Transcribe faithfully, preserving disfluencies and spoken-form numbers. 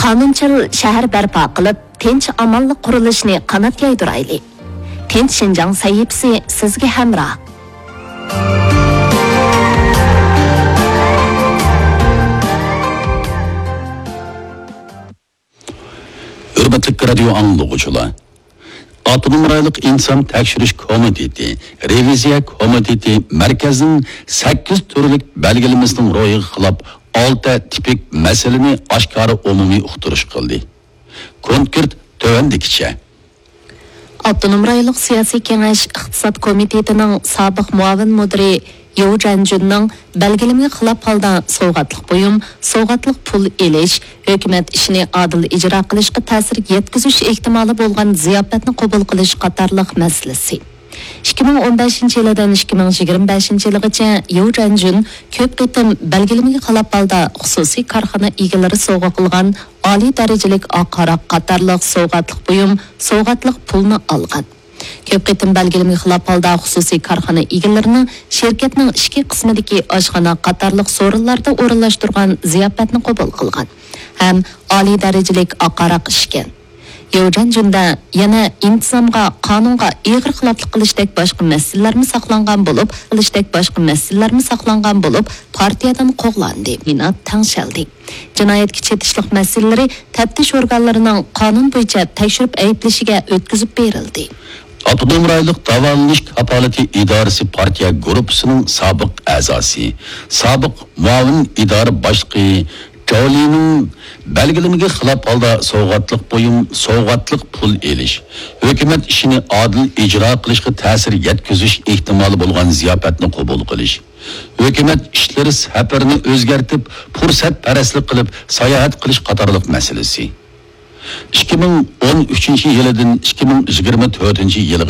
قانۇنچىل شەھەر بەرپا قىلىپ، تىنچ-ئامانلىق قۇرۇلۇشىنى قانات يايدۇرايلى. تىنچ شىنجاڭ سەھىپىسى سىزگە ھەمراھ. ھۆرمەتلىك رادىيو ئاڭلىغۇچىلار! ئاپتونوم رايونلۇق ئىنتىزام تەكشۈرۈش كومىتېتى، رېۋىزىيە كومىتېتى مەركەزنىڭ سەككىز تۈرلۈك بەلگىلىمىسىنىڭ روھىغا خىلاپ ئالتە تىپىك مەسىلىنى ئاشكارا ئومۇمىي ئۇقتۇرۇش قىلدى. كونكرېت تۆۋەندىكىچە. ئاپتونوم رايونلۇق سىياسىي كېڭەش ئىقتىساد كومىتېتىنىڭ سابىق مۇئاۋىن مۇدىرى ياۋ جەنجۈننىڭ بەلگىلىمىگە خىلاپ ھالدا سوۋغاتلىق بۇيۇم، سوۋغاتلىق پۇل ئېلىش، ھۆكۈمەت ئىشىنى ئادىل ئىجرا قىلىشقا تەسىر يەتكۈزۈش ئېھتىمالى بولغان زىياپەتنى قوبۇل قىلىش قاتارلىق مەسىلىسى. ئىككى مىڭ ئون بەشىنچى يىلىدىن ئىككى مىڭ يىگىرمە بەشىنچى يىلىغىچە ياۋ جەنجۈن كۆپ قېتىم بەلگىلىمىگە خىلاپ ھالدا خۇسۇسىي كارخانا ئىگىلىرى سوۋغا قىلغان ئالىي دەرىجىلىك ئاق ھاراق قاتارلىق سوۋغاتلىق بۇيۇم، سوۋغاتلىق پۇلنى ئالغان. كۆپ قېتىم بەلگىلىمىگە خىلاپ ھالدا خۇسۇسىي كارخانا ئىگىلىرىنىڭ شىركەتنىڭ ئىچكى قىسمىدىكى ئاشخانا قاتارلىق سورۇنلاردا ئورۇنلاشتۇرغان زىياپەتنى قوبۇل قىلغان ھەم ئالىي دەرىجىلىك ئاق ھاراق ئىچكەن. ياۋ جەنجۈندە يەنە ئىنتىزامغا، قانۇنغا ئېغىر خىلاپلىق قىلىشتەك باشقا مەسىلىلەرمۇ ساقلانغان بولۇپ، قىلىشتەك باشقا مەسىلىلەرمۇ ساقلانغان بولۇپ، پارتىيەدىن قوغلاندى، مىنات تەڭشەلدى. جىنايەتكە چېتىشلىق مەسىلىلىرى تەپتىش ئورگانلىرىنىڭ قانۇن بويىچە تەكشۈرۈپ ئەيىبلىشىگە ئۆتكۈزۈپ بېرىلدى. ئاپتونوم رايونلۇق داۋالىنىش كاپالىتى ئىدارىسى پارتىيە گۇرۇپپىسىنىڭ سابىق ئەزاسى، سابىق مۇئاۋىن ئىدارە باشلىقى جاۋلىنىڭ بەلگىلىمىگە خىلاپ ھالدا سوۋغاتلىق بۇيۇم، سوۋغاتلىق پۇل ئېلىش، ھۆكۈمەت ئىشىنى ئادىل ئىجرا قىلىشقا تەسىر يەتكۈزۈش ئېھتىمالى بولغان زىياپەتنى قوبۇل قىلىش، ھۆكۈمەت ئىشلىرى سەپىرىنى ئۆزگەرتىپ، پۇرسەتپەرەسلىك قىلىپ ساياھەت قىلىش قاتارلىق مەسىلىسى. ئىككى مىڭ ئون ئۈچىنچى يىلىدىن ئىككى مىڭ يىگىرمە تۆتىنچى يىلغا